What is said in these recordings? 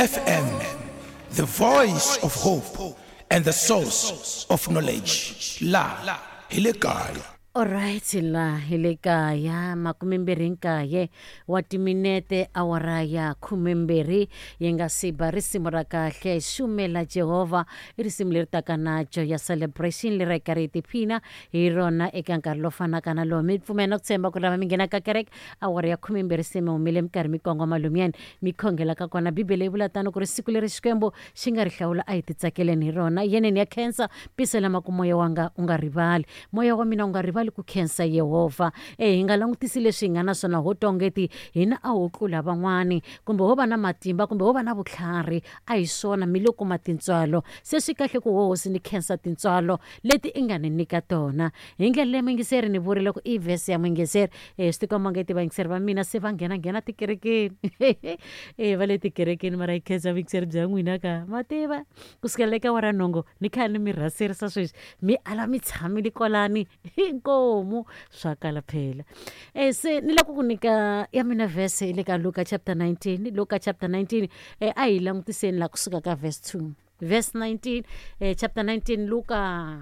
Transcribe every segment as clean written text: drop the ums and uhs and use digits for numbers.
FM, the voice of hope and the source of knowledge. La hi le kaya. Alright la hi le kaya 29 wa timinete awara ya 12 yi nga si ba risimu ra kahle xumela Jehovha i risimu leri taka na joy ya celebration leri hi karhi hi tiphina hi rona eka nkarhi lowu fanaka na lowu mi pfumela na ku tshemba ku lava mi nghenaka kereke awara ya 12 se mi humile mi karhi mi kongoma lomuyani mi khongelaka kona bibele yi vula tano ku ri siku leri xikwembu xi nga ri hlawula a hi titsakeleni hi rona yeneni ya khensa pisela maku moya wanga u nga rivali moya wa mina u nga rivali ku khensa yehovha e hi nga langutisi leswi hi nga na swona ho tongeti hina a ho tlula van'wani kumbe ho va na matimba kumbe ho va na vutlhari a hi swona mi lo kuma tintswalo se swi kahle ku ho hosi ni khensa tintswalo leti i nga ni nyika tona hi ndlela leyi muyingiseri ni vurile ku i vhese ya muyingiseri e swi tikomba nge ti vayingiseri va mina se va nghena nghena tikerekeni e va le tikerekeni mara yi khensa vuyingiseri bya n'wina ka ma tiva ku sukela eka wara nhongo ni kha ni mi rhaserisa sweswi mi ala mi tshamile kwalani inkomu swa kala phela e se ni lava ku ku nyika ya mina vhese le ka Luka chapter 19 Luka chapter 19 e a hi langutiseni la kusuka ka verse 2 verse 19 chapter 19 Luka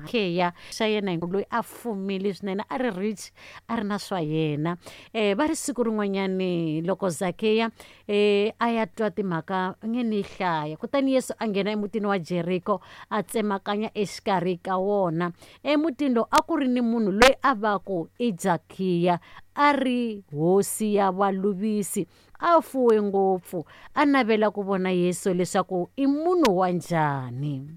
kheya xa yena loyi a fumile swinene a ri rich a ri na swa yena va ri siku rin'wanyani loko Zakeya a ya twa timhaka nge ni hlaya kutani Yesu a nghena emutini wa Jeriko a tsemakanya exikarhi ka wona emutini lowu a ku ri ni munhu loyi a va ku i Zakiya a ri hosi ya valuvisi a fuwe ngopfu a navela ku vona Yesu leswaku i munhu wa njhani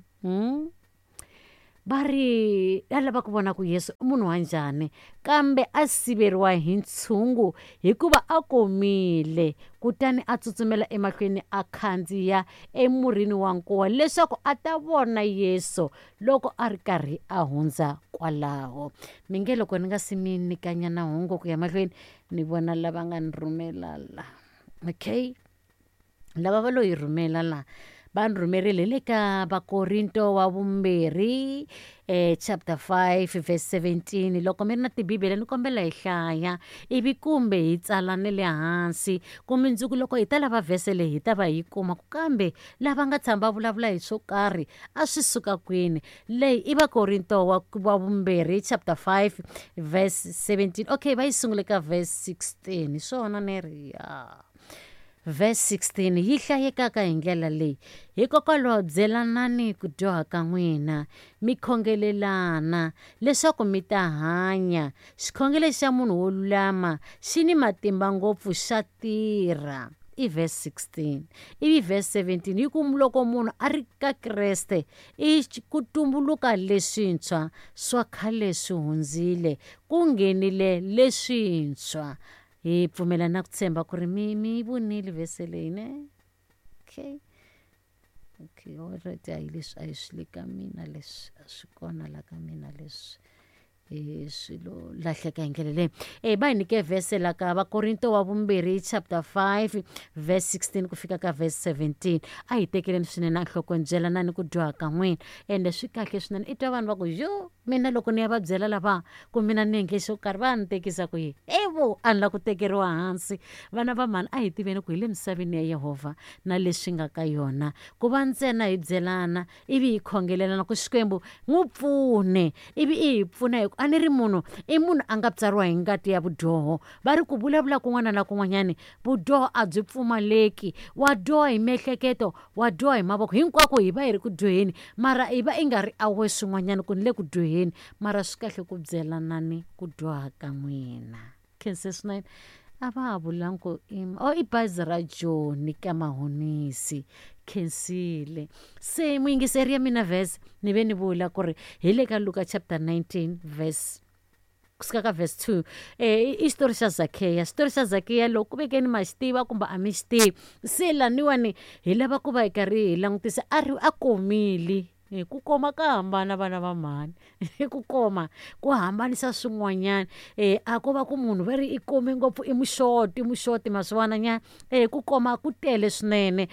va ri a lava ku vona ku Yesu i munhu wa njhani kambe a siveriwa hi ntshungu hikuva a komile kutani a tsutsumela emahlweni a khandziya emurhini wa nkuwa leswaku a ta vona Yesu loko a ri karhi a hundza kwalaho mi nge loko ni nga si mi nyikanyana hungu ku ya mahlweni ni vona lava nga ni rhumela la okay lava va lo yi rhumela la va ni rhumerile le ka Vakorinto wa vumbirhi chapter 5 verse 17 loko mi ri na tibibele ni kombela hi hlaya ivi kumbe hi tsala ni le hansi ku mundzuku loko hi ta lava vhese leyi hi ta va hi kuma ku kambe lava nga tshama va vulavula hi swo karhi a swi suka kwini leyi i Vakorinto wa vumbirhi chapter 5 verse 17 okay va yi sungule ka verse 16 hi swona ni ri ya verse 16 yi hlayekaka hi ndlela leyi hikokwalaho byelanani ku dyoha ka n'wina mi khongelelana leswaku mi ta hanya xikhongelo xa munhu wo lulama xi ni matimba ngopfu xa tirha i verse 16 ivi verse 17 yi ku loko munhu a ri ka Kreste i ku tumbuluka leswintshwa swa khale swi hundzile ku nghenile leswintshwa hi pfumela na ku tshemba ku ri mi mi vonile vhese leyi ne okay okay alright hayi leswi a hi swi le ka mina leswi a swi kona la ka mina leswi swilo lahleka hi ndlela leyi va hi nyike vhese la ka Vakorinto wa vumbirhi chapter 5 verse 16 ku fika ka verse 17 a hi tekeleni swinene enhlokweni byelanani ku dyoha ka n'wina ende swi kahle swinene i twa vanhu va ku yo mina loko ni ya va byela lava ku mina ni endle xo karhi va ni tekisa ku yini evo a ni la ku tekeriwa hansi vana va mhani a hi tiveni ku hi le misaveni ya Yehovha na leswi nga ka yona ku va ntsena hi byelana ivi hi khongelelana ku Xikwembu n'wi pfune ivi i hi pfuna hi ku a ni ri munhu i munhu a nga tswariwa hi ngati ya vudyoho va ri ku vulavula kun'wana na kun'wanyani vudyoho a byi pfumaleki wa dyoha hi miehleketo wa dyoha hi mavoko hinkwako hi va hi ri ku dyoheni mara hi va i nga ri awe swin'wanyana ku ni le ku dyoheni mara swi kahle ku byelanani ku dyoha ka n'wina khense swinene a va ha vulangi ku o i bazi ra Joni ka Mahonisi khensile se muyingiseri ya mina verse ni ve ni vula ku ri hi le ka Luka chapter 19 verse kusuka ka verse 2 i xitori xa Zakeya xitori xa Zakeya loko ku vekeni ma xi tiva kumbe a mi xi tivi se laniwani hi lava ku va hi karhi hi langutisa a ri a komile ku koma ka hambana vana va mhani ku koma ku hambanisa swin'wanyana a ko va ku munhu va ri i kome ngopfu i muxoti muxoti ma swi vona nyana ku koma ku tele swinene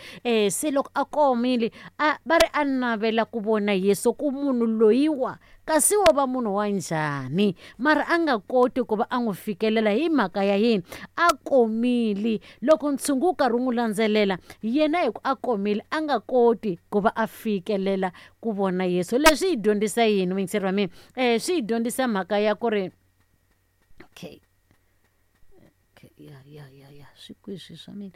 se loko a komile a va ri a navela ku vona Yesu ku munhu loyiwa kasi wo va munhu wa njhani. Mara a nga koti ku va a n'wi fikelela hi mhaka ya yini? A komile. Loko ntshungu wu karhi wu n'wi landzelela, yena hi ku a komile a nga koti ku va a fikelela ku vona Yesu. Leswi hi dyondzisa yini muyingiseri wa mina? Swi hi dyondzisa mhaka ya ku ri okay ya ya ya ya swi kwihi swi swa mina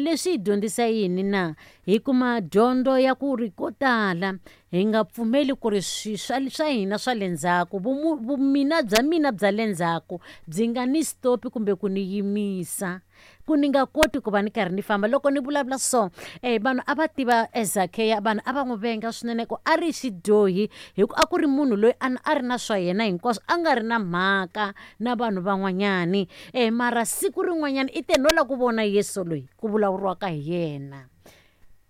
leswi hi dyondzisa yini na hi kuma dyondzo ya ku ri ko tala hi nga pfumeli ku ri swi swa swa hina swa le ndzhaku vumina bya mina bya le ndzhaku byi nga ni stop kumbe ku ni yimisa ku ni nga koti ku va ni karhi ni famba. Loko ni vulavula so vanhu a va tiva Zakeya, vanhu a va n'wi venga swinene ku a ri xidyohi, hi ku a ku ri munhu loyi a ri na swa yena hinkwaswo, a nga ri na mhaka na vanhu van'wanyani. Mara siku rin'wanyana i te no lava ku vona Yesu loyi ku vulavuriwaka hi yena,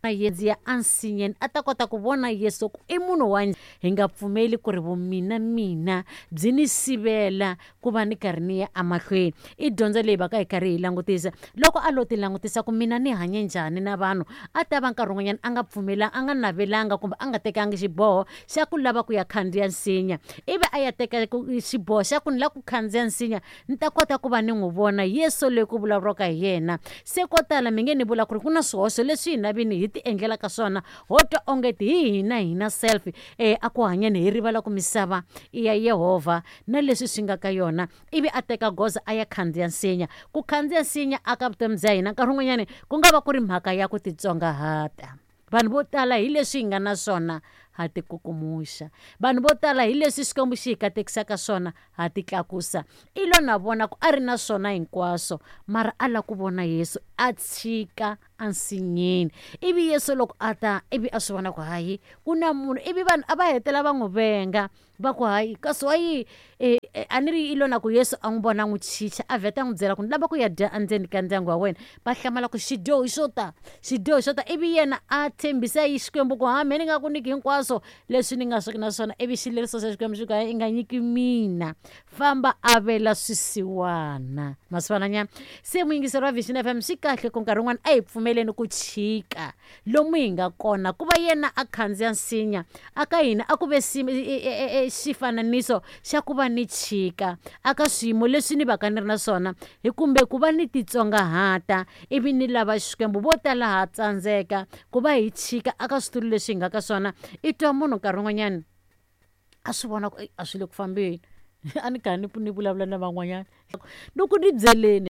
a ya ensinyeni a ta kota ku vona Yesu ku i munhu wa. Hi nga pfumeli ku ri vumina mina byi ni sivela ku va ni karhi ni ya emahlweni. I dyondzo leyi va ka hi karhi hi langutisa. Loko a lo ti langutisa ku mina ni hanye njhani na vanhu, a ta va nkarhi wun'wanyana a nga pfumelanga, a nga navelanga kumbe a nga tekangi xiboho xa ku lava ku ya khandziya nsinya, ivi a ya teka xiboho xa ku ni lava ku khandziya nsinya ni ta kota ku va ni n'wi vona Yesu loyi ku vulavuriwaka hi yena. Se ko tala mi nge ni vula ku ri ku na swihoxo leswi hina vini hi ti endlelaka swona, ho twa onge hi hina hina self a ku hanyeni, hi rivala ku misava i ya Yehovha na leswi swi nga ka yona. Ivi a teka goza a ya khandziya nsinya. Ku khandziya nsinya aka vutomi bya hina nkarhi wun'wanyani ku nga va ku ri mhaka ya ku titsongahata. Vanhu vo tala hi leswi hi nga na swona ha tikukumuxa, vanhu vo tala hi leswi Xikwembu xi hi katekisaka swona ha titlakusa. I lo na vona ku a ri na swona hinkwaswo, mara a lava ku vona Yesu, a tshika ensinyeni. Ivi Yesu loko a ta, ivi a swi vona ku hayi ku na munhu, ivi vanhu a va hetela va n'wi venga, va ku hayi kasi wa yi a ni ri i lo na ku Yesu a n'wi vona a n'wi chicha, a vheta a n'wi byela ku ni lava ku ya dya endzeni ka ndyangu wa wena. Va hlamala ku xidyoho xo ta, xidyoho xo ta. Ivi yena a tshembisa yi Xikwembu ku ha me ni nga ku nyiki hinkwaswo leswi ni nga swi na swona. Ivi xileriso xa Xikwembu xi ku i nga nyiki mina, famba avela swisiwana. Masivananyana se muyingiseri wa Vision FM, swi kahle ku nkarhi wun'wana a hi pfumeleni ku chika lomu hi nga kona, ku va yena a khandziya nsinya aka hina a ku ve xifananiso xa ku va ni chika aka swiyimo leswi ni va ka ni ri na swona, hi kumbe ku va ni titsongahata ivi ni lava Xikwembu. Vo tala ha tsandzeka ku va hi chika aka switulu leswi hi nga ka swona. I twa munhu nkarhi wun'wanyana a swi vona ku a swi le ku fambeni, a ni karhi ni vulavula na van'wanyana loko ni byeleni.